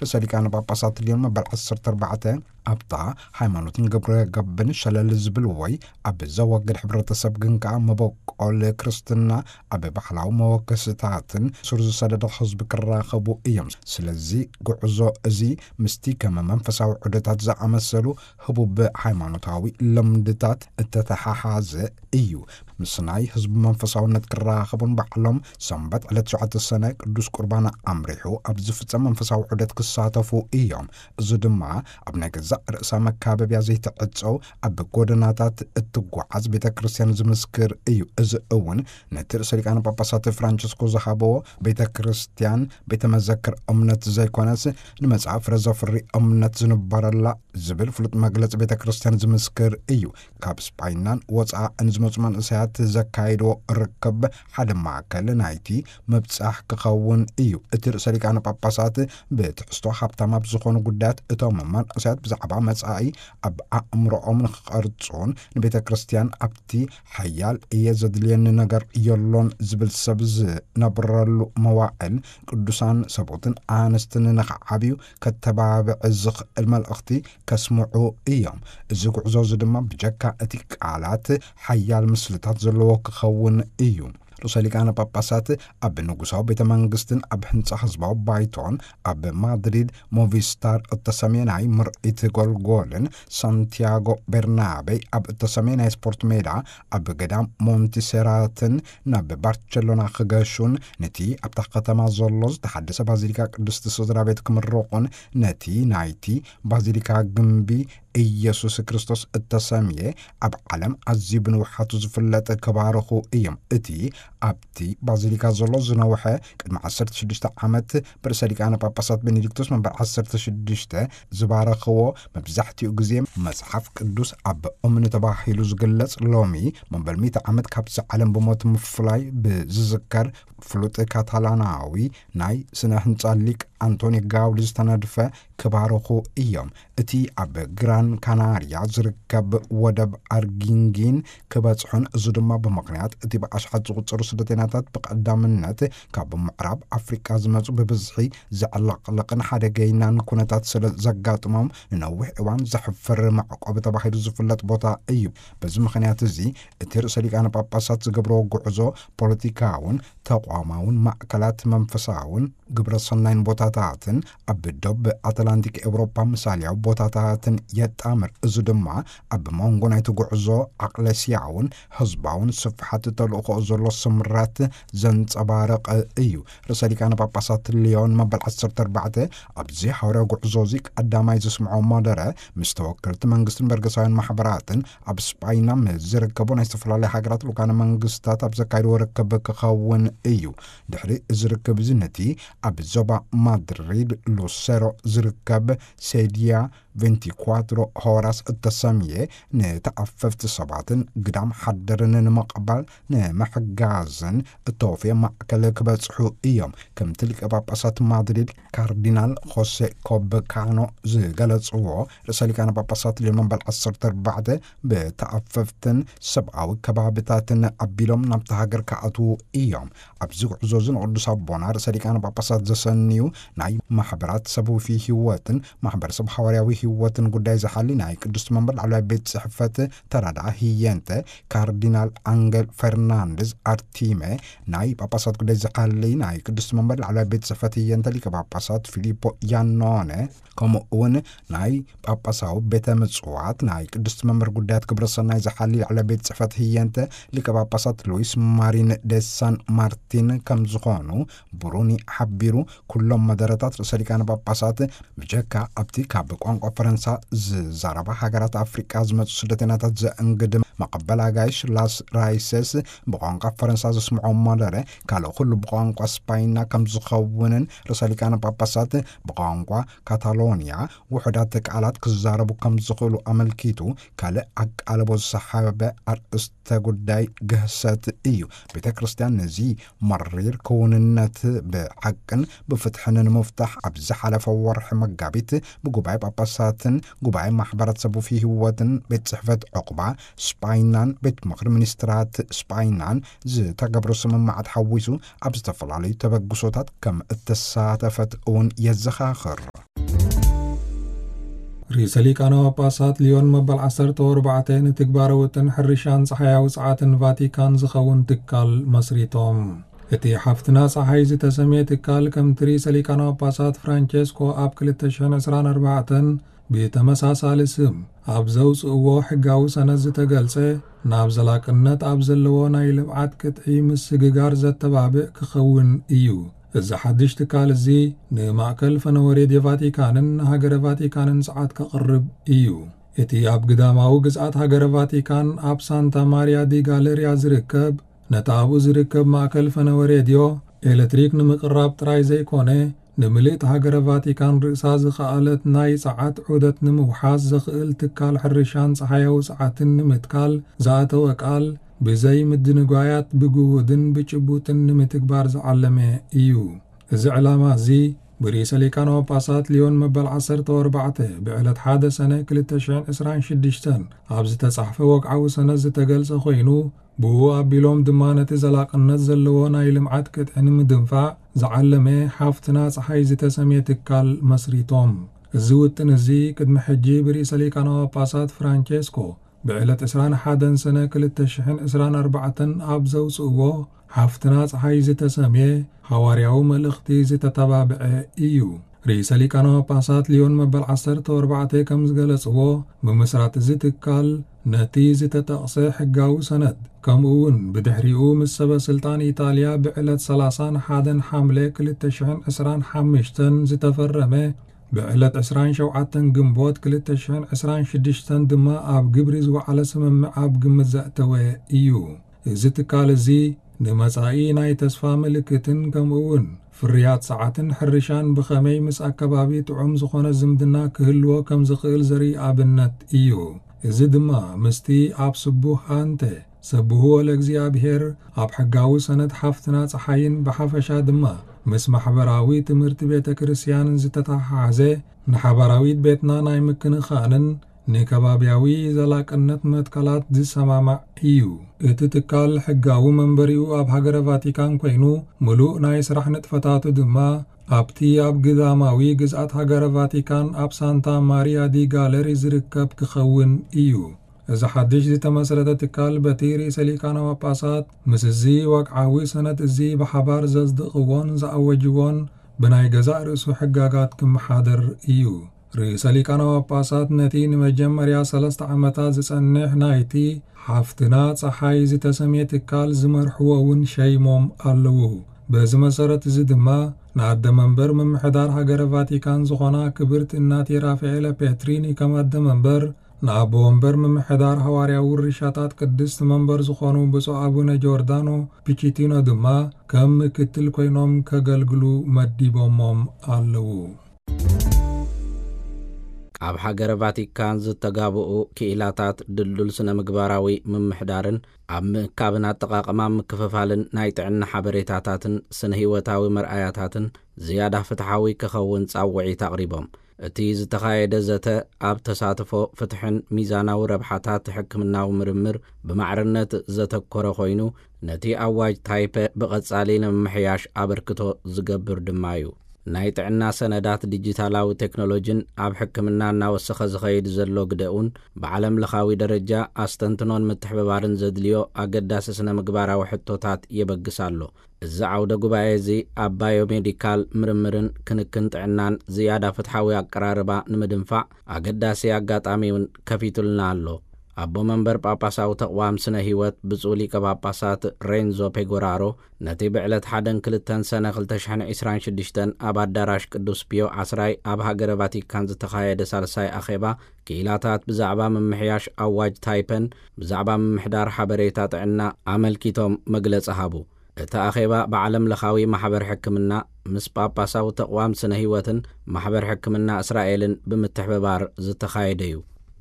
ርእሰ ሊቃነ ጳጳሳት ሊዮን መበል ዓሰርተ ኣርባዕተ ኣብታ ሃይማኖትን ግብረ ገብን ሸለል ዝብል ወይ ኣብ ዘወግድ ሕብረተሰብ ግን ከኣ መበቆል ክርስትና ኣብ ባሕላዊ መወከስታትን ሱር ዝሰደደ ህዝቢ ክራኸቡ እዮም። ስለዚ ጉዕዞ እዚ ምስቲ ከም መንፈሳዊ ዑደታት ዝኣመሰሉ ህቡብ ሃይማኖታዊ ልምድታት እተተሓሓዘ እዩ። ምስ ናይ ህዝቢ መንፈሳውነት ክራኸቡን ባዕሎም ሰንበት ዕለት ሸውዓተ ሰነ ቅዱስ ቁርባን ኣምሪሑ ኣብ ዝፍጸም መንፈሳዊ ዑደት ክሳተፉ እዮም። እዚ ድማ ኣብ ናይ ገዛእ ርእሳ መካበብያ ዘይትዕጸው ኣብ ጎደናታት እትጓዓዝ ቤተ ክርስቲያን ዝምስክር እዩ። እዚ እውን ነቲ ርእሰ ሊቃነ ጳጳሳት ፍራንቸስኮ ዝሃበዎ ቤተ ክርስቲያን ቤተ መዘክር እምነት ዘይኮነስ ንመጽኣ ፍረ ዘፍሪ እምነት ዝንበረላ ዝብል ፍሉጥ መግለጺ ቤተ ክርስቲያን ዝምስክር እዩ። ካብ ስጳይናን ወጻእን ዝመጹ መንእሰያት ዘካየድዎ ርክብ ሓደ ማእከል ናይቲ ምብጻሕ ክኸውን እዩ። እቲ ርእሰ ሊቃነ ጳጳሳት ብትሕዝቶ ሃብታም ኣብ ዝኾኑ ጉዳያት እቶም መንእሰያት ብዛዕባ መጻኢ ኣብ ኣእምሮኦም ንኽቐርጹን ንቤተ ክርስቲያን ኣብቲ ሓያል እየ ዘድልየኒ ነገር የሎን ዝብል ሰብ ዝነብረሉ መዋዕል ቅዱሳን ሰቦትን ኣንስትን ንኽዓብዩ ከተባብዕ ዝኽእል መልእኽቲ ከስምዑ እዮም። እዚ ጉዕዞ እዚ ድማ ብጀካ እቲ ቃላት ሓያል ምስልታት ዘለዎ ክኸውን እዩ። ርእሰ ሊቃነ ጳጳሳት ኣብ ንጉሳዊ ቤተ መንግስትን ኣብ ህንጻ ህዝባዊ ባይቶን ኣብ ማድሪድ ሞቪስታር እተሰምየ ናይ ምርኢት ጎልጎልን ሳንቲያጎ ቤርናቤ ኣብ እተሰምየ ናይ ስፖርት ሜዳ ኣብ ገዳም ሞንቲሴራትን ናብ ባርቸሎና ክገሹን ነቲ ኣብታ ከተማ ዘሎ ዝተሓደሰ ባዚሊካ ቅድስቲ ስድራ ቤት ክምርቑን ነቲ ናይቲ ባዚሊካ ግምቢ ኢየሱስ ክርስቶስ እተሰምየ ኣብ ዓለም ኣዝዩ ብንውሓቱ ዝፍለጥ ክባርኹ እዮም። እቲ ኣብቲ ባዚሊካ ዘሎ ዝነውሐ ቅድሚ ዓሰርተ ሽዱሽተ ዓመት ብርእሰ ሊቃነ ጳጳሳት ቤኔዲክቶስ መበል ዓሰርተ ሽዱሽተ ዝባረኽዎ መብዛሕትኡ ግዜ መጽሓፍ ቅዱስ ኣብ እምኒ ተባሂሉ ዝግለጽ ሎሚ መበል ሚእቲ ዓመት ካብዚ ዓለም ብሞት ምፍላይ ብዝዝከር ፍሉጥ ካታላናዊ ናይ ስነ ህንጻ ሊቅ ኣንቶኒ ጋውዲ ዝተነድፈ ክባርኹ እዮም። እቲ ኣብ ግራን ካናርያ ዝርከብ ወደብ ኣርጊንጊን ክበጽሑን፣ እዚ ድማ ብምኽንያት እቲ ብኣሽሓት ዝቑጸሩ ስደተኛታት ብቐዳምነት ካብ ምዕራብ ኣፍሪቃ ዝመጹ ብብዝሒ ዘዕለቕልቕን ሓደገይናን ኩነታት ስለ ዘጋጥሞም ንነዊሕ እዋን ዘሕፍር መዕቆቢ ተባሂሉ ዝፍለጥ ቦታ እዩ። በዚ ምኽንያት እዚ እቲ ርእሰ ሊቃነ ጳጳሳት ዝገብርዎ ጉዕዞ ፖለቲካውን ተቋማውን ማእከላት መንፈሳውን ግብረ ሰናይን ቦታታትን ኣብ ዶብ ኣትላንቲክ ኤውሮጳ ምሳልያዊ ቦታታትን የጣምር። እዚ ድማ ኣብ መንጎ ናይቲ ጉዕዞ ዓቕለስያውን ህዝባውን ስፍሓት ተልእኾ ዘሎ ስምረት ዘንጸባርቕ እዩ። ርእሰ ሊቃነ ጳጳሳት ሊዮን መበል ዓሰርተ ኣርባዕተ ኣብዚ ሓዋርያዊ ጉዕዞ እዚ ቀዳማይ ዘስምዖ መደረ ምስ ተወከልቲ መንግስትን በርገሳውያን ማሕበራትን ኣብ ስጳይና ምስ ዝርከቡ ናይ ዝተፈላለዩ ሃገራት ልኡካነ መንግስታት ኣብ ዘካየድዎ ርክብ ክኸውን እዩ። ድሕሪ እዚ ርክብ እዚ ነቲ ኣብ ዞባ ማድሪድ ሉሴሮ ዝርከብ ሴድያ ቬንቲኳትሮ ሆራስ እተሰምየ ንተኣፈፍቲ ሰባትን ግዳም ሓደርን ንምቕባል ንምሕጋዝን እተወፍየ ማእከል ክበጽሑ እዮም። ከምቲ ሊቀ ጳጳሳት ማድሪድ ካርዲናል ሆሴ ኮበካኖ ዝገለጽዎ፣ ርእሰ ሊቃነ ጳጳሳት ሊዮን መበል ዓሰርተ ኣርባዕተ ብተኣፈፍትን ሰብኣዊ ከባብታትን ኣቢሎም ናብታ ሃገር ክኣትዉ እዮም። ኣብዚ ጉዕዞ እዚ ንቅዱስ ኣቦና ርእሰ ሊቃነ ጳጳሳት ዘሰንዩ ናይ ማሕበራት ሰብኣዊ ህይወትን ማሕበረሰብ ሃዋርያዊ ህይወትን ጉዳይ ዝሓሊ ናይ ቅድስቲ መንበር ላዕለዋይ ቤት ጽሕፈት ተራድኣ ህየንተ ካርዲናል ኣንገል ፈርናንድዝ ኣርቲመ፣ ናይ ጳጳሳት ጉዳይ ዝሓሊ ናይ ቅድስቲ መንበር ላዕለዋይ ቤት ጽሕፈት ህየንተ ሊቀ ጳጳሳት ፊሊፖ ያኖነ፣ ከምኡ እውን ናይ ጳጳሳዊ ቤተ ምጽዋት ናይ ቅድስቲ መንበር ጉዳያት ግብረ ሰናይ ዝሓሊ ላዕለዋይ ቤት ጽሕፈት ህየንተ ሊቀ ጳጳሳት ሉዊስ ማሪን ደ ሳን ማርቲን ከም ዝኾኑ ብሩኒ ሓቢሩ። ኩሎም መደረታት ርእሰ ሊቃነ ጳጳሳት ብጀካ ኣብቲ ካብ ቋንቋ ፈረንሳ ዝዛረባ ሃገራት ኣፍሪቃ ዝመጹ ስደተኛታት ዘእንግድ መቐበል ኣጋይሽ ላስ ራይሰስ ብቋንቋ ፈረንሳ ዘስምዖ መደረ ካልእ ኩሉ ብቋንቋ ስፓይና ከም ዝኸውንን ርእሰ ሊቃነ ጳጳሳት ብቋንቋ ካታሎንያ ውሑዳት ቃላት ክዛረቡ ከም ዝኽእሉ ኣመልኪቱ፣ ካልእ ኣቃልቦ ዝሰሓበ ኣርእስተ ጉዳይ ግህሰት እዩ። ቤተ ክርስቲያን ነዚ መሪር ክውንነት ብሓቅን ብፍትሕን ንምፍታሕ ኣብ ዝሓለፈ ወርሒ መጋቢት ብጉባኤ ጳጳሳትን ጉባኤ ማሕበራት ሰቡፊ ህይወትን ቤት ጽሕፈት ዕቑባ ስጳይናን ቤት ምኽሪ ሚኒስትራት ስጳይናን ዝተገብረ ስምምዓት ሓዊሱ ኣብ ዝተፈላለዩ ተበግሶታት ከም እተሳተፈት እውን የዘኻኽር። ርእሰ ሊቃነ ጳጳሳት ሊዮን መበል ዓሰርተ ኣርባዕተ ንትግባረ ውጥን ሕርሻን ጸሓያዊ ጸዓትን ቫቲካን ዝኸውን ትካል መስሪቶም። እቲ ሓፍትና ጸሓይ ዝተሰምየ ትካል፣ ከምቲ ርእሰ ሊቃነ ጳጳሳት ፍራንቸስኮ ኣብ ክልተ ሽሕን ዕስራን ኣርባዕተን ብተመሳሳሊ ስም ኣብ ዘውጽእዎ ሕጋዊ ሰነድ ዝተገልጸ፣ ናብ ዘላቅነት ኣብ ዘለዎ ናይ ልምዓት ቅጥዒ ምስግጋር ዘተባብዕ ክኸውን እዩ። እዚ ሓድሽ ትካል እዚ ንማእከል ፈነወ ሬድዮ ቫቲካንን ንሃገረ ቫቲካንን ጸዓት ከቕርብ እዩ። እቲ ኣብ ግዳማዊ ግዝኣት ሃገረ ቫቲካን ኣብ ሳንታ ማሪያ ዲ ጋለሪያ ዝርከብ፣ ነቲ ኣብኡ ዝርከብ ማእከል ፈነወ ሬድዮ ኤሌክትሪክ ንምቅራብ ጥራይ ዘይኮነ፣ ንምልእቲ ሃገረ ቫቲካን ርእሳ ዝኸኣለት ናይ ጸዓት ዑደት ንምውሓስ ዘኽእል ትካል ሕርሻን ጸሓያዊ ጸዓትን ንምትካል ዝኣተወ ቃል፣ ብዘይ ምድንጓያት ብግሁድን ብጭቡጥን ንምትግባር ዝዓለመ እዩ። እዚ ዕላማ እዚ ብርእሰ ሊቃነ ጳጳሳት ሊዮን መበል ዓሰርተ ኣርባዕተ ብዕለት ሓደ ሰነ ክልተ ሽሕን ዕስራን ሽዱሽተን ኣብ ዝተጻሕፈ ወግዓዊ ሰነድ ዝተገልጸ ኮይኑ፣ ብኡ ኣቢሎም ድማ ነቲ ዘላቕነት ዘለዎ ናይ ልምዓት ቅጥዒ ንምድንፋዕ ዝዓለመ ሓፍትና ጸሓይ ዝተሰምየ ትካል መስሪቶም። እዚ ውጥን እዚ ቅድሚ ሕጂ ብርእሰ ሊቃነ ጳጳሳት ፍራንቸስኮ ብዕለት ዕስራን ሓደን ሰነ ክልተ ሽሕን ዕስራን ኣርባዕተን ኣብ ዘውጽእዎ ሓፍትና ጸሓይ ዝተሰምየ ሃዋርያዊ መልእኽቲ ዝተተባብዐ እዩ። ርእሰ ሊቃነ ጳጳሳት ሊዮን መበል ዓሰርተ ኣርባዕተ ከም ዝገለጽዎ፣ ምምስራት እዚ ትካል ነቲ ዝተጠቕሰ ሕጋዊ ሰነድ፣ ከምኡ እውን ብድሕሪኡ ምስ ሰበ ስልጣን ኢጣልያ ብዕለት ሰላሳን ሓደን ሓምለ ክልተ ሽሕን ዕስራን ሓሙሽተን ዝተፈረመ፣ ብዕለት ዕስራን ሸውዓተን ግንቦት ክልተ ሽሕን ዕስራን ሽዱሽተን ድማ ኣብ ግብሪ ዝወዓለ ስምምዕ ኣብ ግምት ዘእተወ እዩ። እዚ ትካል እዚ ንመጻኢ ናይ ተስፋ ምልክትን ከምኡ እውን ፍርያት ጸዓትን ሕርሻን ብኸመይ ምስ ኣከባቢ ጥዑም ዝኾነ ዝምድና ክህልዎ ከም ዝኽእል ዘርኢ ኣብነት እዩ። እዚ ድማ ምስቲ ኣብ ስቡህ ኣንተ ሰብህዎ ለእግዚኣብሔር ኣብ ሕጋዊ ሰነድ ሓፍትና ጸሓይን ብሓፈሻ ድማ ምስ ማሕበራዊ ትምህርቲ ቤተ ክርስቲያንን ዝተተሓሓዘ፣ ንሓባራዊት ቤትና ናይ ምክንኻንን ንከባብያዊ ዘላቅነት መትከላት ዝሰማማዕ እዩ። እቲ ትካል ሕጋዊ መንበሪኡ ኣብ ሃገረ ቫቲካን ኮይኑ፣ ምሉእ ናይ ስራሕ ንጥፈታቱ ድማ ኣብቲ ኣብ ግዳማዊ ግዝኣት ሃገረ ቫቲካን ኣብ ሳንታ ማሪያ ዲ ጋለሪ ዝርከብ ክኸውን እዩ። እዚ ሓድሽ ዝተመስረተ ትካል በቲ ርእሰ ሊቃነ ጳጳሳት ምስ እዚ ወግዓዊ ሰነድ እዚ ብሓባር ዘጽደቕዎን ዝኣወጅዎን ብናይ ገዛእ ርእሱ ሕጋጋት ክመሓደር እዩ። ርእሰ ሊቃነ ጳጳሳት ነቲ ንመጀመርያ ሰለስተ ዓመታት ዝጸንሕ ናይቲ ሓፍትና ጸሓይ ዝተሰምየ ትካል ዝመርሕዎ እውን ሸይሞም ኣለዉ። በዚ መሰረት እዚ ድማ ንኣደ መንበር ምምሕዳር ሃገረ ቫቲካን ዝኾና ክብርቲ እናቴ ራፋኤለ ፔትሪኒ ከም ኣደ መንበር፣ ንኣቦ ወንበር ምምሕዳር ሃዋርያዊ ውርሻታት ቅድስቲ መንበር ዝኾኑ ብፁዕ ኣቡነ ጆርዳኖ ፒቺቲኖ ድማ ከም ምክትል ኮይኖም ከገልግሉ መዲቦሞም ኣለዉ። ኣብ ሃገረ ቫቲካን ዝተጋብኡ ክኢላታት ድልዱል ስነ ምግባራዊ ምምሕዳርን ኣብ ምእካብን ኣጠቓቕማ ምክፍፋልን ናይ ጥዕና ሓበሬታታትን ስነ ህይወታዊ መርኣያታትን ዝያዳ ፍትሓዊ ክኸውን ጻውዒት ኣቕሪቦም። እቲ ዝተኻየደ ዘተ ኣብ ተሳትፎ፣ ፍትሕን ሚዛናዊ ረብሓታት ሕክምናዊ ምርምር ብማዕርነት ዘተኮረ ኮይኑ፣ ነቲ ኣዋጅ ታይፐ ብቐጻሊ ንምምሕያሽ ኣበርክቶ ዝገብር ድማ እዩ። ናይ ጥዕና ሰነዳት ዲጂታላዊ ቴክኖሎጂን ኣብ ሕክምና እናወሰኸ ዝኸይድ ዘሎ ግደኡን ብዓለም ለኻዊ ደረጃ ኣስተንትኖን ምትሕብባርን ዘድልዮ ኣገዳሲ ስነ ምግባራዊ ሕቶታት የበግስ ኣሎ። እዚ ዓውደ ጉባኤ እዚ ኣብ ባዮሜዲካል ምርምርን ክንክን ጥዕናን ዝያዳ ፍትሓዊ ኣቀራርባ ንምድንፋዕ ኣገዳሲ ኣጋጣሚ እውን ከፊቱልና ኣሎ። ኣቦ መንበር ጳጳሳዊ ተቕዋም ስነ ህይወት ብፁዕ ሊቀ ጳጳሳት ሬንዞ ፔጎራሮ ነቲ ብዕለት ሓደን ክልተን ሰነ ክልተ ሽሕን ዕስራን ሽዱሽተን ኣብ ኣዳራሽ ቅዱስ ፒዮ ዓስራይ ኣብ ሃገረ ቫቲካን ዝተኻየደ ሳልሳይ ኣኼባ ክኢላታት ብዛዕባ ምምሕያሽ ኣዋጅ ታይፐን ብዛዕባ ምምሕዳር ሓበሬታ ጥዕና ኣመልኪቶም መግለጺ ሃቡ። እቲ ኣኼባ ብዓለም ለኻዊ ማሕበር ሕክምና ምስ ጳጳሳዊ ተቕዋም ስነ ህይወትን ማሕበር ሕክምና እስራኤልን ብምትሕብባር ዝተኻየደ እዩ።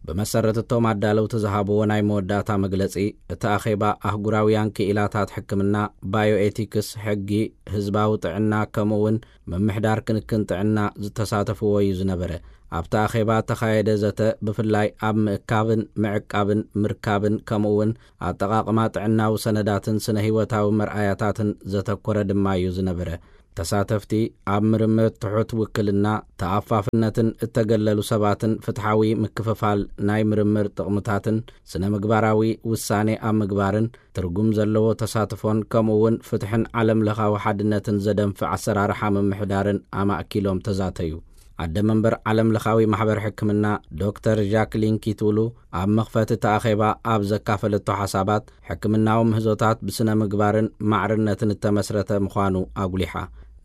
ብመሰረት እቶም ኣዳለውቲ ዝሃብዎ ናይ መወዳእታ መግለጺ፣ እቲ ኣኼባ ኣህጉራውያን ክኢላታት ሕክምና፣ ባዮኤቲክስ፣ ሕጊ፣ ህዝባዊ ጥዕና፣ ከምኡውን ምምሕዳር ክንክን ጥዕና ዝተሳተፍዎ እዩ ዝነበረ። ኣብቲ ኣኼባ እተኻየደ ዘተ ብፍላይ ኣብ ምእካብን ምዕቃብን ምርካብን ከምኡውን ኣጠቓቕማ ጥዕናዊ ሰነዳትን ስነ ህይወታዊ መርኣያታትን ዘተኮረ ድማ እዩ ዝነበረ። ተሳተፍቲ ኣብ ምርምር ትሑት ውክልና፣ ተኣፋፍነትን እተገለሉ ሰባትን ፍትሓዊ ምክፍፋል ናይ ምርምር ጥቕምታትን ስነ ምግባራዊ ውሳኔ ኣብ ምግባርን ትርጉም ዘለዎ ተሳትፎን ከምኡ እውን ፍትሕን ዓለም ለኻዊ ሓድነትን ዘደንፍዕ ኣሰራርሓ ምምሕዳርን ኣማእኪሎም ተዛተዩ። ኣደ መንበር ዓለም ለኻዊ ማሕበር ሕክምና ዶክተር ጃክሊን ኪትውሉ ኣብ መኽፈቲ እቲ ኣኼባ ኣብ ዘካፈለቶ ሓሳባት፣ ሕክምናዊ ምህዞታት ብስነ ምግባርን ማዕርነትን እተመስረተ ምዃኑ ኣጉሊሓ።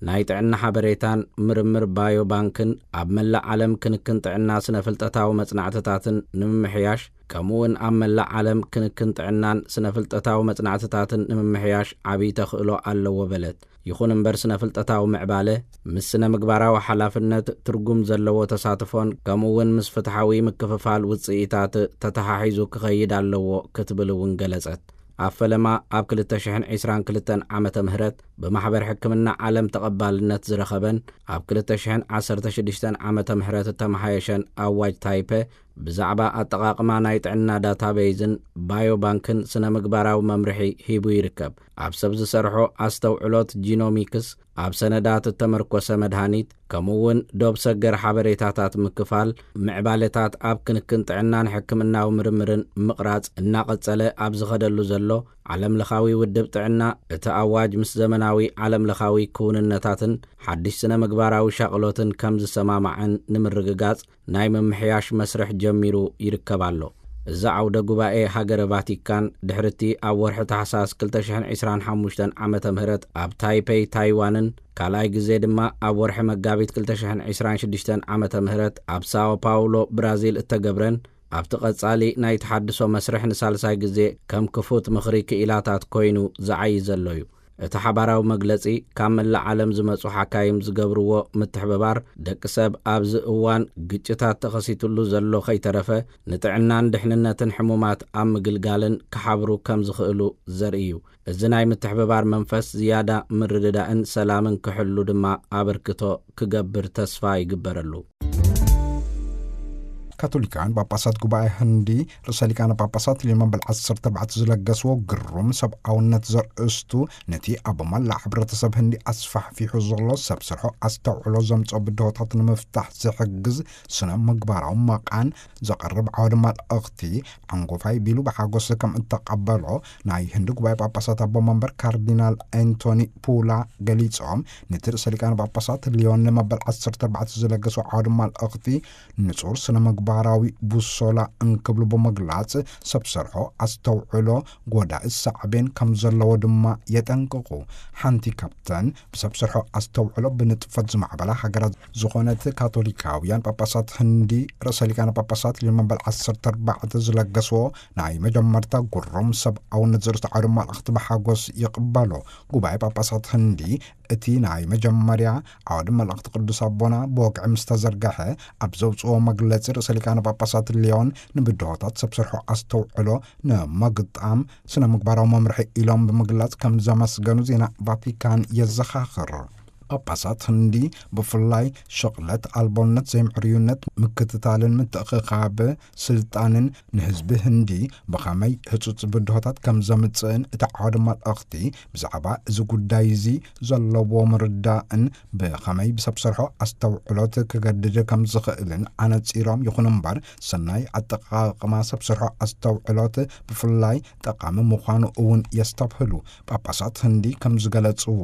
ናይ ጥዕና ሓበሬታን ምርምር ባዮ ባንክን ኣብ መላእ ዓለም ክንክን ጥዕና ስነ ፍልጠታዊ መጽናዕትታትን ንምምሕያሽ፣ ከምኡ እውን ኣብ መላእ ዓለም ክንክን ጥዕናን ስነ ፍልጠታዊ መጽናዕትታትን ንምምሕያሽ ዓብዪ ተኽእሎ ኣለዎ በለት። ይኹን እምበር፣ ስነ ፍልጠታዊ ምዕባለ ምስ ስነ ምግባራዊ ሓላፍነት ትርጉም ዘለዎ ተሳትፎን ከምኡ እውን ምስ ፍትሓዊ ምክፍፋል ውጽኢታት ተተሓሒዙ ክኸይድ ኣለዎ ክትብል እውን ገለጸት። ኣብ ፈለማ ኣብ ክልተ ሽሕን ዕስራን ክልተን ዓመተ ምህረት ብማሕበር ሕክምና ዓለም ተቐባልነት ዝረኸበን ኣብ ክልተ ሽሕን ዓሰርተ ሽዱሽተን ዓመተ ምህረት እተመሓየሸን ኣዋጅ ታይፐ ብዛዕባ ኣጠቓቕማ ናይ ጥዕና ዳታቤይዝን ባዮባንክን ስነ ምግባራዊ መምርሒ ሂቡ ይርከብ። ኣብ ሰብ ዝሰርሖ ኣስተውዕሎት ጂኖሚክስ፣ ኣብ ሰነዳት እተመርኮሰ መድሃኒት፣ ከምኡ እውን ዶብ ሰገር ሓበሬታታት ምክፋል፣ ምዕባለታት ኣብ ክንክን ጥዕናን ሕክምናዊ ምርምርን ምቕራጽ እናቐጸለ ኣብ ዝኸደሉ ዘሎ ዓለም ለኻዊ ውድብ ጥዕና፣ እቲ ኣዋጅ ምስ ዘመናዊ ዓለም ለኻዊ ክውንነታትን ሓድሽ ስነ ምግባራዊ ሻቕሎትን ከም ዝሰማማዕን ንምርግጋጽ ናይ ምምሕያሽ መስርሕ ጀሚሩ ይርከብ ኣሎ። እዚ ዓውደ ጉባኤ ሃገረ ቫቲካን ድሕርቲ ኣብ ወርሒ ታሕሳስ ክልተ ሽሕን ዕስራን ሓሙሽተን ዓመተ ምህረት ኣብ ታይፔይ ታይዋንን ካልኣይ ግዜ ድማ ኣብ ወርሒ መጋቢት ክልተ ሽሕን ዕስራን ሽዱሽተን ዓመተ ምህረት ኣብ ሳኦ ፓውሎ ብራዚል እተገብረን፣ ኣብቲ ቀጻሊ ናይ ተሓድሶ መስርሕ ንሳልሳይ ግዜ ከም ክፉት ምኽሪ ክኢላታት ኮይኑ ዝዓዪ ዘሎ እዩ። እቲ ሓባራዊ መግለጺ፣ ካብ መላእ ዓለም ዝመጹ ሓካይም ዝገብርዎ ምትሕብባር፣ ደቂ ሰብ ኣብዚ እዋን ግጭታት ተኸሲትሉ ዘሎ ከይተረፈ ንጥዕናን ድሕንነትን ሕሙማት ኣብ ምግልጋልን ክሓብሩ ከም ዝኽእሉ ዘርኢ እዩ። እዚ ናይ ምትሕብባር መንፈስ ዝያዳ ምርድዳእን ሰላምን ክሕሉ ድማ ኣበርክቶ ክገብር ተስፋ ይግበረሉ። ካቶሊካውያን ጳጳሳት ጉባኤ ህንዲ ርእሰ ሊቃነ ጳጳሳት ሊዮ መበል ዓሰርተ ኣርባዕተ ዝለገስዎ ግሩም ሰብኣውነት ዘርእስቱ፣ ነቲ ኣብ መላእ ሕብረተሰብ ህንዲ ኣስፋሕፊሑ ዘሎ ሰብ ስርሖ ኣስተውዕሎ ዘምጽኦ ብድሆታት ንምፍታሕ ዝሕግዝ ስነ ምግባራዊ መቓን ዘቕርብ ዓውዲ መልእኽቲ፣ ዓንጎፋይ ቢሉ ብሓጎስ ከም እተቐበሎ ናይ ህንዲ ጉባኤ ጳጳሳት ኣቦ መንበር ካርዲናል ኣንቶኒ ፑላ ገሊጾም፣ ነቲ ርእሰ ሊቃነ ጳጳሳት ሊዮን መበል ዓሰርተ ኣርባዕተ ዝለገሶ ዓውዲ መልእኽቲ ንጹር ስነ ምግባራዊ ቡሶላ እንክብሉ ብምግላጽ፣ ሰብ ሰርሖ ኣስተውዕሎ ጎዳኢ ሳዕቤን ከም ዘለዎ ድማ የጠንቅቑ። ሓንቲ ካብተን ብሰብ ሰርሖ ኣስተውዕሎ ብንጥፈት ዝማዕበላ ሃገራት ዝኾነት ካቶሊካውያን ጳጳሳት ህንዲ ርእሰ ሊቃነ ጳጳሳት ሊዮ መበል ዓሰርተ ኣርባዕተ ዝለገስዎ ናይ መጀመርታ ግሩም ሰብኣውነት ዘርእስቱ ዓውዲ መልእኽቲ ብሓጎስ ይቕበሎ። ጉባኤ ጳጳሳት ህንዲ እቲ ናይ መጀመርያ ዓውዲ መልእኽቲ ቅዱስ ኣቦና ብወግዒ ምስ ተዘርግሐ፣ ኣብ ዘውፅኦ መግለፂ ርእሰ ሊቃነ ጳጳሳት ሊዮን ንብድሆታት ሰብ ስርሖ ኣስተውዕሎ ንምግጣም ስነ ምግባራዊ መምርሒ ኢሎም ብምግላጽ ከም ዘመስገኑ ዜና ቫቲካን የዘኻኽር። ጳጳሳት ህንዲ ብፍላይ ሽቕለት ኣልቦነት፣ ዘይምዕርዩነት፣ ምክትታልን ምትእኽኻብ ስልጣንን ንህዝቢ ህንዲ ብኸመይ ህጹጽ ብድሆታት ከም ዘምጽእን እቲ ዓውዲ መልእኽቲ ብዛዕባ እዚ ጉዳይ እዚ ዘለዎ ምርዳእን ብኸመይ ብሰብ ሰርሖ ኣስተውዕሎት ክገድድ ከም ዝኽእልን ኣነጺሮም። ይኹን እምበር፣ ሰናይ ኣጠቓቕማ ሰብ ሰርሖ ኣስተውዕሎት ብፍላይ ጠቓሚ ምዃኑ እውን የስተብህሉ። ጳጳሳት ህንዲ ከም ዝገለጽዎ፣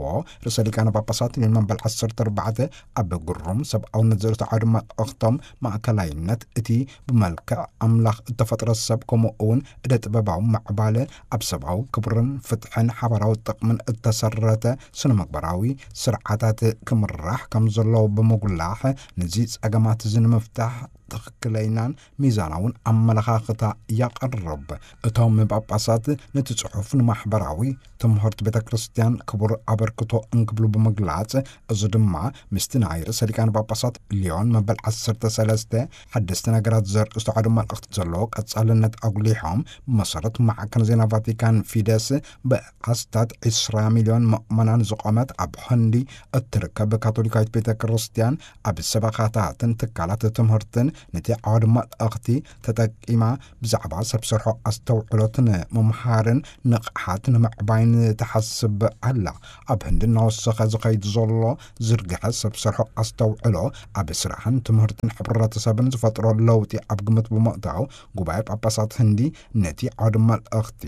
ርእሰ ሊቃነ ጳጳሳት ሊዮን መበል ዓሰርተ ኣርባዕተ ኣብ ግሩም ሰብኣውነት ዘርእስቱ ዓውዲ መልእኽቶም፣ ማእከላይነት እቲ ብመልክዕ ኣምላኽ እተፈጥረ ሰብ፣ ከምኡ እውን እደ ጥበባዊ ምዕባለ፣ ኣብ ሰብኣዊ ክብርን ፍትሕን ሓባራዊ ጥቕምን እተሰረተ ስነ ምግባራዊ ስርዓታት ክምራሕ ከም ዘለዎ ብምጉላሕ፣ ነዚ ጸገማት እዚ ንምፍታሕ ትኽክለይናን ሚዛናውን ኣመለኻኽታ የቕርብ። እቶም ጳጳሳት ነቲ ጽሑፍ ንማሕበራዊ ትምህርቲ ቤተ ክርስቲያን ክቡር ኣበርክቶ እንክብሉ ብምግላጽ፣ እዚ ድማ ምስቲ ናይ ርእሰ ሊቃነ ጳጳሳት ሊዮን መበል ዓሰርተ ሰለስተ ሓደስቲ ነገራት ዘርእስቱ ዓውዲ መልእኽቲ ዘለዎ ቀጻልነት ኣጉሊሖም፣ ብመሰረት ማዕከን ዜና ቫቲካን ፊደስ፣ ብኣስታት ዕስራ ሚልዮን ምእመናን ዝቖመት ኣብ ህንዲ እትርከብ ካቶሊካዊት ቤተ ክርስቲያን፣ ኣብ ሰበኻታትን ትካላት ትምህርትን ነቲ ዓውዲ መልእኽቲ ተጠቂማ ብዛዕባ ሰብ ሰርሖ ኣስተውዕሎት ንምምሃርን ንቕሓት ንምዕባይን ትሓስብ ኣላ። ኣብ ህንዲ እናወሰኸ ዝኸይድ ዘሎ ዝርግሐ ሰብ ሰርሖ ኣስተውዕሎ ኣብ ስራሕን ትምህርትን ሕብረተሰብን ዝፈጥሮ ለውጢ ኣብ ግምት ብምእታው፣ ጉባኤ ጳጳሳት ህንዲ ነቲ ዓውዲ መልእኽቲ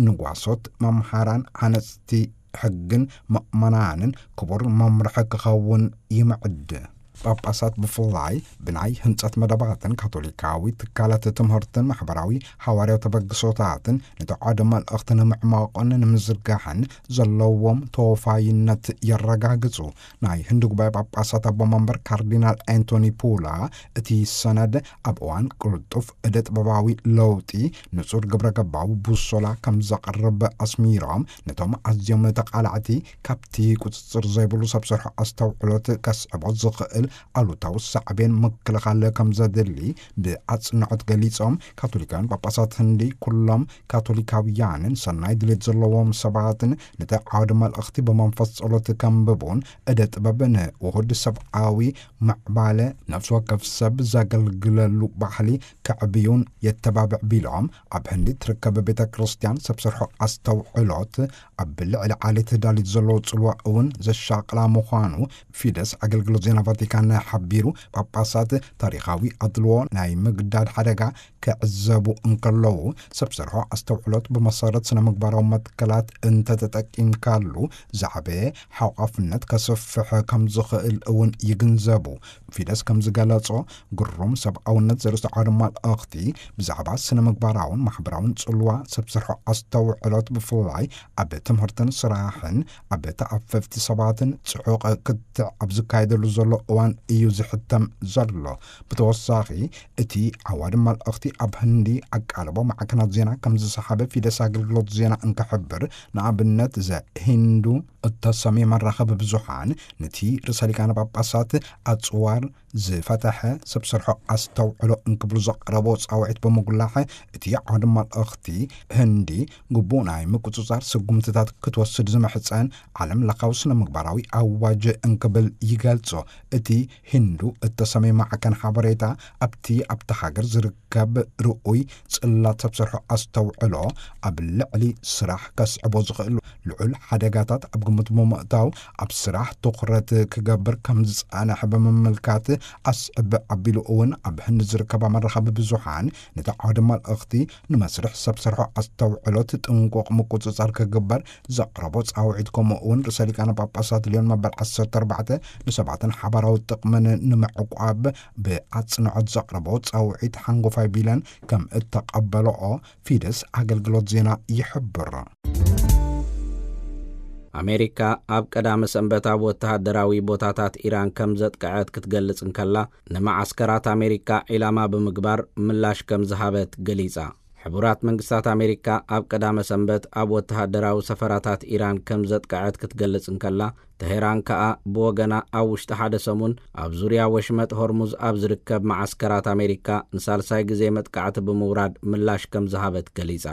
ንጓሶት፣ መምሃራን፣ ሃነፅቲ ሕግን ምእመናንን ክቡር መምርሒ ክኸውን ይምዕድ። ጳጳሳት ብፍላይ ብናይ ህንጸት መደባትን ካቶሊካዊ ትካላት ትምህርትን ማሕበራዊ ሃዋርያዊ ተበግሶታትን ነቲ ዓውዲ መልእኽቲ ንምዕማቖን ንምዝርጋሕን ዘለዎም ተወፋይነት የረጋግጹ። ናይ ህንዲ ጉባኤ ጳጳሳት ኣቦ መንበር ካርዲናል ኣንቶኒ ፑላ፣ እቲ ሰነድ ኣብ እዋን ቅልጡፍ እደ ጥበባዊ ለውጢ ንጹር ግብረ ገባዊ ቡሶላ ከም ዘቕርብ ኣስሚሮም፣ ነቶም ኣዝዮም ተቓላዕቲ ካብቲ ቁጽጽር ዘይብሉ ሰብ ሰርሖ ኣስተውዕሎት ከስዕቦ ዝኽእል ኣሉታዊ ሳዕቤን ምክልኻል ከም ዘድሊ ብኣጽንዖት ገሊጾም፣ ካቶሊካውያን ጳጳሳት ህንዲ ኩሎም ካቶሊካውያንን ሰናይ ድሌት ዘለዎም ሰባትን ነቲ ዓውዲ መልእኽቲ ብመንፈስ ጸሎት ከንብቡን እደ ጥበብ ንውሁድ ሰብኣዊ ምዕባለ ነፍሲ ወከፍ ሰብ ዘገልግለሉ ባህሊ ከዕብዩን የተባብዕ ቢሎም፣ ኣብ ህንዲ ትርከብ ቤተ ክርስቲያን ሰብ ሰርሖ ኣስተውዕሎት ኣብ ልዕሊ ዓሌት ዳሊት ዘለዎ ጽልዋ እውን ዘሻቕላ ምዃኑ ፊደስ ኣገልግሎት ዜና ቫቲካን ሓቢሩ። ጳጳሳት ታሪኻዊ ኣድልዎ ናይ ምግዳድ ሓደጋ ክዕዘቡ እንከለዉ፣ ሰብ ሰርሖ ኣስተውዕሎት ብመሰረት ስነ ምግባራዊ መትከላት እንተተጠቂምካሉ፣ ዝዓበየ ሓቋፍነት ከስፍሕ ከም ዝኽእል እውን ይግንዘቡ። ፊደስ ከም ዝገለጾ፣ ግሩም ሰብኣውነት ዘርእስቱ ዓውደ መልእኽቲ ብዛዕባ ስነ ምግባራውን ማሕበራውን ጽልዋ ሰብ ሰርሖ ኣስተውዕሎት፣ ብፍላይ ኣብ ትምህርትን ስራሕን ኣብ ተኣፈፍቲ ሰባትን ጽዑቕ ክትዕ ኣብ ዝካየደሉ ዘሎ እዋን እዩ ዝሕተም ዘሎ። ብተወሳኺ፣ እቲ ዓዋዲ መልእኽቲ ኣብ ህንዲ ኣቃልቦ ማዕከናት ዜና ከም ዝሰሓበ ፊደስ ኣገልግሎት ዜና እንክሕብር፣ ንኣብነት ዘ ሂንዱ እተሰምየ መራኸቢ ብዙሓን፣ ነቲ ርእሰ ሊቃነ ጳጳሳት ኣጽዋር ዝፈተሐ ሰብ ሰርሖ ኣስተውዕሎ እንክብሉ ዘቕረቦ ጻውዒት ብምጉላሕ፣ እቲ ዓውዲ መልእኽቲ ህንዲ ግቡእ ናይ ምቁጽጻር ስጉምትታት ክትወስድ ዝምሕጸን ዓለም ለኻዊ ስነ ምግባራዊ ኣዋጅ እንክብል ይገልጾ። እቲ ሂንዱ እተሰምየ ማዕከን ሓበሬታ ኣብቲ ኣብታ ሃገር ዝርከብ ርኡይ ጽላት ሰብ ሰርሖ ኣስተውዕሎ ኣብ ልዕሊ ስራሕ ከስዕቦ ዝኽእል ልዑል ሓደጋታት ኣብ ግምት ብምእታው፣ ኣብ ስራሕ ትኹረት ክገብር ከም ዝጸንሐ ብምምልካት፣ ኣስዕብ ኣቢሉ እውን ኣብ ህንዲ ዝርከባ መራኸቢ ብዙሓን ነቲ ዓውዲ መልእኽቲ ንመስርሕ ሰብ ሰርሖ ኣስተውዕሎት ጥንቁቕ ምቁጽጻር ክግበር ዘቕረቦ ጻውዒት፣ ከምኡ እውን ርእሰ ሊቃነ ጳጳሳት ልዮን መበል ዓሰርተ ኣርባዕተ ንሰባትን ሓባራዊ ጥቕምን ንምዕቋብ ብኣጽንዖት ዘቕረቦ ጻውዒት ሓንጎፋይ ቢለን ከም እተቐበለኦ ፊደስ ኣገልግሎት ዜና ይሕብር። ኣሜሪካ ኣብ ቀዳመ ሰንበት ኣብ ወተሃደራዊ ቦታታት ኢራን ከም ዘጥቅዐት ክትገልጽ እንከላ፣ ንመዓስከራት ኣሜሪካ ዒላማ ብምግባር ምላሽ ከም ዝሃበት ገሊጻ። ሕቡራት መንግስታት ኣሜሪካ ኣብ ቀዳመ ሰንበት ኣብ ወተሃደራዊ ሰፈራታት ኢራን ከም ዘጥቅዐት ክትገልጽ እንከላ፣ ተሄራን ከኣ ብወገና ኣብ ውሽጢ ሓደ ሰሙን ኣብ ዙርያ ወሽመጥ ሆርሙዝ ኣብ ዝርከብ መዓስከራት ኣሜሪካ ንሳልሳይ ግዜ መጥቃዕቲ ብምውራድ ምላሽ ከም ዝሃበት ገሊጻ።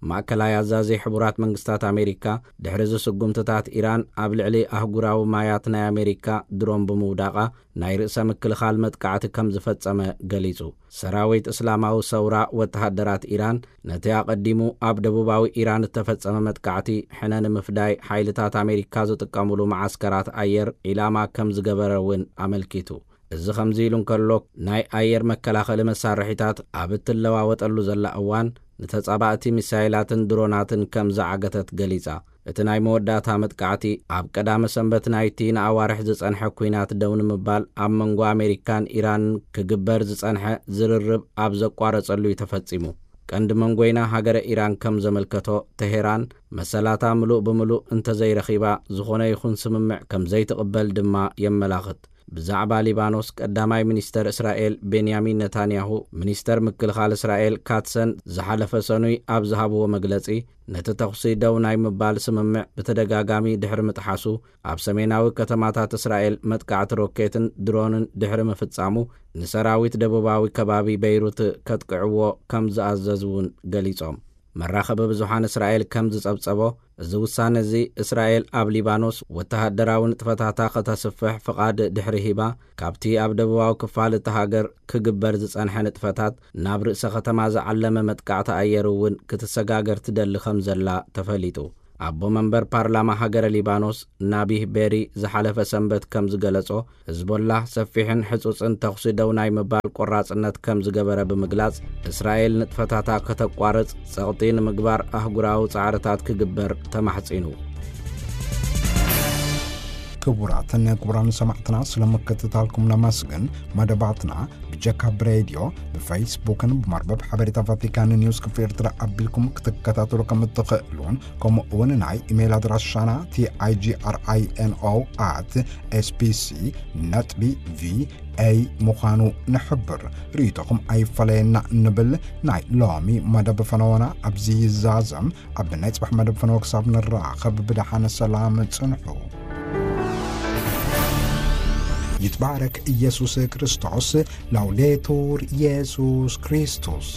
ማእከላይ ኣዛዚ ሕቡራት መንግስታት ኣሜሪካ፣ ድሕሪ እዚ ስጉምትታት ኢራን ኣብ ልዕሊ ኣህጉራዊ ማያት ናይ ኣሜሪካ ድሮን ብምውዳቓ፣ ናይ ርእሰ ምክልኻል መጥቃዕቲ ከም ዝፈጸመ ገሊጹ። ሰራዊት እስላማዊ ሰውራ ወተሃደራት ኢራን ነቲ ኣቐዲሙ ኣብ ደቡባዊ ኢራን እተፈጸመ መጥቃዕቲ ሕነ ንምፍዳይ ሓይልታት ኣሜሪካ ዝጥቀሙሉ መዓስከራት ኣየር ዒላማ ከም ዝገበረ እውን ኣመልኪቱ። እዚ ከምዚ ኢሉ እንከሎ፣ ናይ ኣየር መከላኸሊ መሳርሒታት ኣብ እትለዋወጠሉ ዘላ እዋን፣ ንተጻባእቲ ሚሳይላትን ድሮናትን ከም ዝዓገተት ገሊጻ። እቲ ናይ መወዳእታ መጥቃዕቲ ኣብ ቀዳመ ሰንበት ናይቲ ንኣዋርሕ ዝጸንሐ ኲናት ደው ንምባል ኣብ መንጎ ኣሜሪካን ኢራንን ክግበር ዝጸንሐ ዝርርብ ኣብ ዘቋረጸሉ እዩ ተፈጺሙ። ቀንዲ መንጎይና ሃገረ ኢራን ከም ዘመልከቶ፣ ተሄራን መሰላታ ምሉእ ብምሉእ እንተዘይረኺባ፣ ዝኾነ ይኹን ስምምዕ ከም ዘይትቕበል ድማ የመላኽት። ብዛዕባ ሊባኖስ፣ ቀዳማይ ሚኒስተር እስራኤል ቤንያሚን ነታንያሁ፣ ሚኒስተር ምክልኻል እስራኤል ካትሰን ዝሓለፈ ሰኑይ ኣብ ዝሃብዎ መግለጺ፣ ነቲ ተኹሲ ደው ናይ ምባል ስምምዕ ብተደጋጋሚ ድሕሪ ምጥሓሱ፣ ኣብ ሰሜናዊ ከተማታት እስራኤል መጥቃዕቲ ሮኬትን ድሮንን ድሕሪ ምፍጻሙ፣ ንሰራዊት ደቡባዊ ከባቢ በይሩት ከጥቅዕዎ ከም ዝኣዘዙ እውን ገሊጾም። መራኸቢ ብዙሓን እስራኤል ከም ዝጸብጸቦ፣ እዚ ውሳነ እዚ እስራኤል ኣብ ሊባኖስ ወተሃደራዊ ንጥፈታታ ከተስፍሕ ፍቓድ ድሕሪ ሂባ፣ ካብቲ ኣብ ደቡባዊ ክፋል እታ ሃገር ክግበር ዝጸንሐ ንጥፈታት ናብ ርእሰ ከተማ ዝዓለመ መጥቃዕቲ ኣየር እውን ክትሰጋገር ትደሊ ከም ዘላ ተፈሊጡ። ኣቦ መንበር ፓርላማ ሃገረ ሊባኖስ ናቢህ ቤሪ ዝሓለፈ ሰንበት ከም ዝገለጾ፣ ህዝቦላህ ሰፊሕን ሕጹጽን ተኹሲ ደው ናይ ምባል ቆራጽነት ከም ዝገበረ ብምግላጽ፣ እስራኤል ንጥፈታታ ከተቋርጽ፣ ጸቕጢ ንምግባር ኣህጉራዊ ጻዕርታት ክግበር ተማሕጺኑ። ክቡራትን ክቡራን ሰማዕትና፣ ስለ ምክትታልኩም ነመስግን። መደባትና ብጀካ ብሬድዮ፣ ብፌስቡክን ብመርበብ ሓበሬታ ቫቲካን ኒውስ ክፍሊ ኤርትራ ኣቢልኩም ክትከታተሉ ከም እትኽእሉን፣ ከምኡ እውን ናይ ኢሜይል ኣድራሻና ቲኣይጂኣርኣይኤንኦ ኣት ኤስቢሲ ነጥቢ ቪኤ ምዃኑ ንሕብር። ርእይቶኹም ኣይፈለየና ንብል። ናይ ሎሚ መደብ ፈነወና ኣብዚ ይዛዘም። ኣብ ናይ ጽባሕ መደብ ፈነወ ክሳብ ንራኸብ ብደሓነ ሰላም ጽንሑ። ይትባረክ ኢየሱስ ክርስቶስ። ላውዴቱር ኢየሱስ ክርስቶስ።